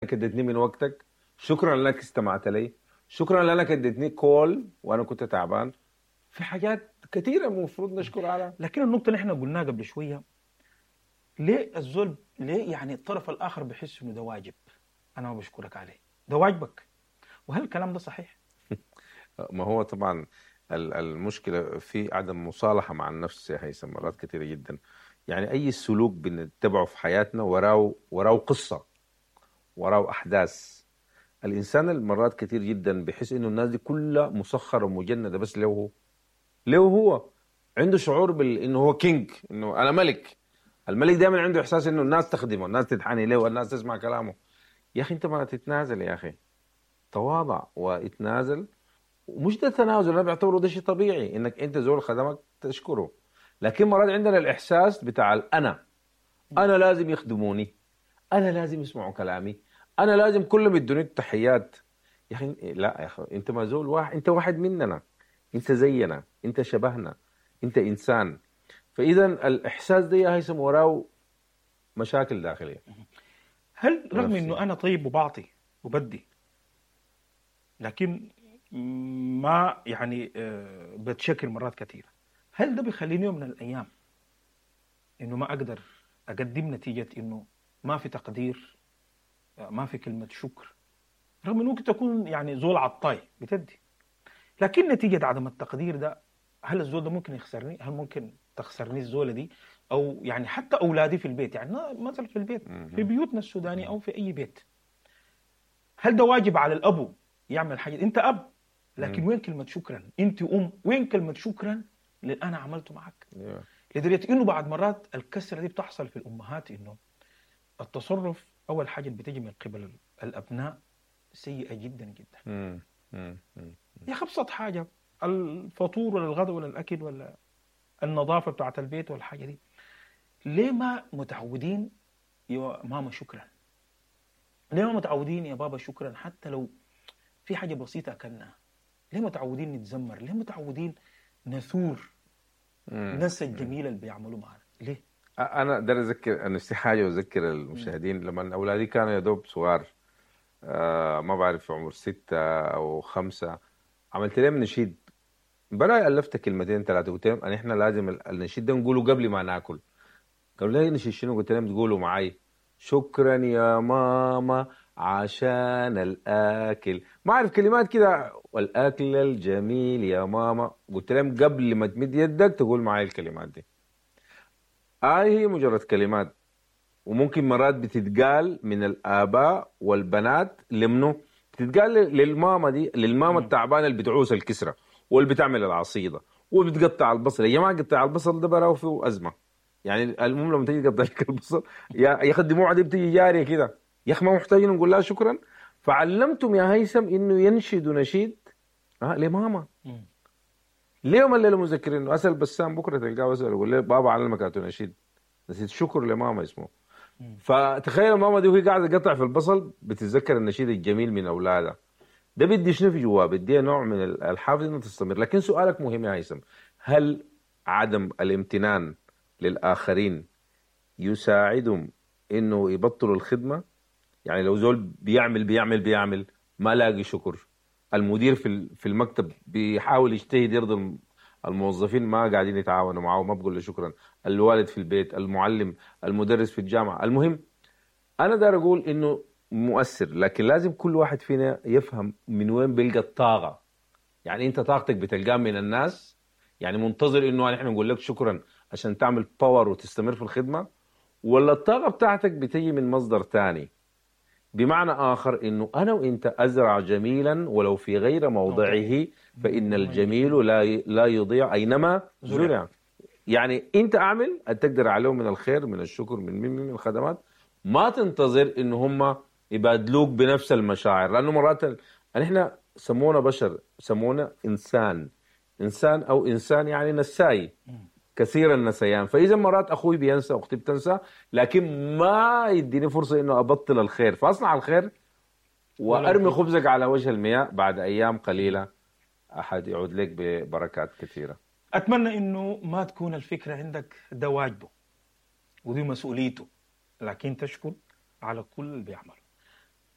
لانك اديتني من وقتك، شكرا لانك استمعت لي، شكرا لانك اديتني call وانا كنت تعبان. في حاجات كثيرة المفروض نشكر عليها. لكن النقطة اللي احنا قلناها قبل شوية، ليه الزول، ليه يعني الطرف الاخر بحس انه ده واجب، انا ما بشكرك عليه، ده واجبك؟ وهل الكلام ده صحيح؟ ما هو طبعا المشكلة في عدم مصالحه مع النفس يا هيثم مرات كثيرة جدا. يعني اي سلوك بنتبعه في حياتنا وراه قصة، وراه احداث. الانسان المرات كثير جدا بيحس انه الناس دي كلها مسخرة ومجنده بس له هو، له هو عنده شعور انه هو king، انه انا ملك. الملك دائما عنده احساس انه الناس تخدمه، الناس تتحني له، والناس تسمع كلامه. يا اخي انت ما تتنازل يا اخي، تواضع واتنازل. ومش ده تنازل، انا بعتبره ده شيء طبيعي انك انت زول خدمك تشكره. لكن مرات عندنا الاحساس بتاع الانا، انا لازم يخدموني، انا لازم يسمعوا كلامي، انا لازم كلهم يدوني التحيات. يا اخي لا يا اخي، انت ما زول واحد، انت واحد مننا، انت زينا، انت شبهنا، انت انسان. فاذا الاحساس ده يا هيثم وراه مشاكل داخلية. هل رغم نفسية. انه انا طيب وبعطي وبدي، لكن ما يعني بتشكل مرات كثيرة، هل ده بيخليني يوم من الايام انه ما اقدر اقدم نتيجة انه ما في تقدير، ما في كلمة شكر، رغم انه ممكن تكون يعني زول عطاي بتدي، لكن نتيجة عدم التقدير ده هل الزول ده ممكن يخسرني؟ هل ممكن تخسرني الزوله دي؟ او يعني حتى اولادي في البيت، يعني مثلا في البيت، في بيوتنا السودانية او في اي بيت، هل ده واجب على الابو يعمل حاجة؟ انت اب، لكن وين كلمة شكرا؟ انت ام، وين كلمة شكرا اللي انا عملته معك؟ لدرجة انه بعد مرات الكسرة دي بتحصل في الامهات، انه التصرف اول حاجة اللي بتجي من قبل الابناء سيئه جدا جدا. يا اخي ابسط حاجة، الفطور ولا الغداء ولا الاكل ولا النظافة بتاعت البيت ولا الحاجة دي، ليه ما متعودين يا ماما شكرا؟ ليه ما متعودين يا بابا شكرا؟ حتى لو في حاجة بسيطة اكلناها، ليه متعودين نتذمر؟ ليه متعودين نثور ننسى الجميل اللي بيعملوه معنا؟ ليه؟ انا داير اذكر نفسي حاجة واذكر المشاهدين. لما اولادي كانوا يا دوب صغار، ما بعرف في عمر 6 أو 5، عملت لهم نشيد. بلا الفت كلمتين 3، قلت لهم احنا لازم النشيد ده نقوله قبل ما ناكل. قالوا لي نشيد شنو؟ قلت لهم تقولوا معي شكرا يا ماما عشان الاكل، ما اعرف كلمات كده، والاكل الجميل يا ماما. قلت لهم قبل ما تمد يدك تقول معي الكلمات دي. هي مجرد كلمات، وممكن مرات بتتقال من الآباء والبنات لمنو؟ بتتقال للماما دي، للماما التعبانة اللي بتعوس الكسرة واللي بتعمل العصيدة وبتقطع البصل. يا جماعة قطع البصل ده براو فيه أزمة. يعني المهم لما تيجي تقطع لك البصل يا أخي الدموع دي بتيجي جارية كده، يا أخي ما محتاجين نقول لها شكرا. فعلمتم يا هيثم إنه ينشد نشيد لماما. ليه ما الليلة مذكرين؟ أسأل بسام بكرة تلقاه أسأل يقول له بابا علمك نشيد، نسيت شكر لماما اسمه. فتخيل ماما دي وهي قاعدة تقطع في البصل بتتذكر النشيد الجميل من اولادها. ده بدي شنو في جواه؟ بدي نوع من الحافز انه تستمر. لكن سؤالك مهم يا هيثم، هل عدم الامتنان للاخرين يساعدهم انه يبطلوا الخدمة؟ يعني لو زول بيعمل بيعمل بيعمل ما لاقي شكر، المدير في المكتب بيحاول يجتهد يرضي الموظفين ما قاعدين يتعاونوا معه، ما بقول له شكرا، الوالد في البيت، المعلم، المدرس في الجامعة. المهم أنا دار أقول إنه مؤثر، لكن لازم كل واحد فينا يفهم من وين بيلقى الطاقة. يعني أنت طاقتك بتلقاها من الناس، يعني منتظر إنه نحن نقول لك شكرا عشان تعمل باور وتستمر في الخدمة، ولا الطاقة بتاعتك بتيجي من مصدر تاني؟ بمعنى آخر إنه أنا وإنت أزرع جميلا ولو في غير موضعه فإن الجميل لا يضيع أينما زرع. يعني أنت أعمل تقدر عليه من الخير، من الشكر، من الخدمات، ما تنتظر إنه هم يبادلوك بنفس المشاعر. لأنه مرات نحن سمونا بشر، سمونا إنسان، إنسان أو إنسان يعني نساي، كثير النسيان. فإذا مرات أخوي بينسى، أختي بتنسى، لكن ما يديني فرصة إنه أبطل الخير، فأصنع الخير وأرمي خبزك على وجه المياه، بعد أيام قليلة أحد يعود لك ببركات كثيرة. أتمنى إنه ما تكون الفكرة عندك ده واجبه ودي مسؤوليته، لكن تشكر على كل اللي بيعمله.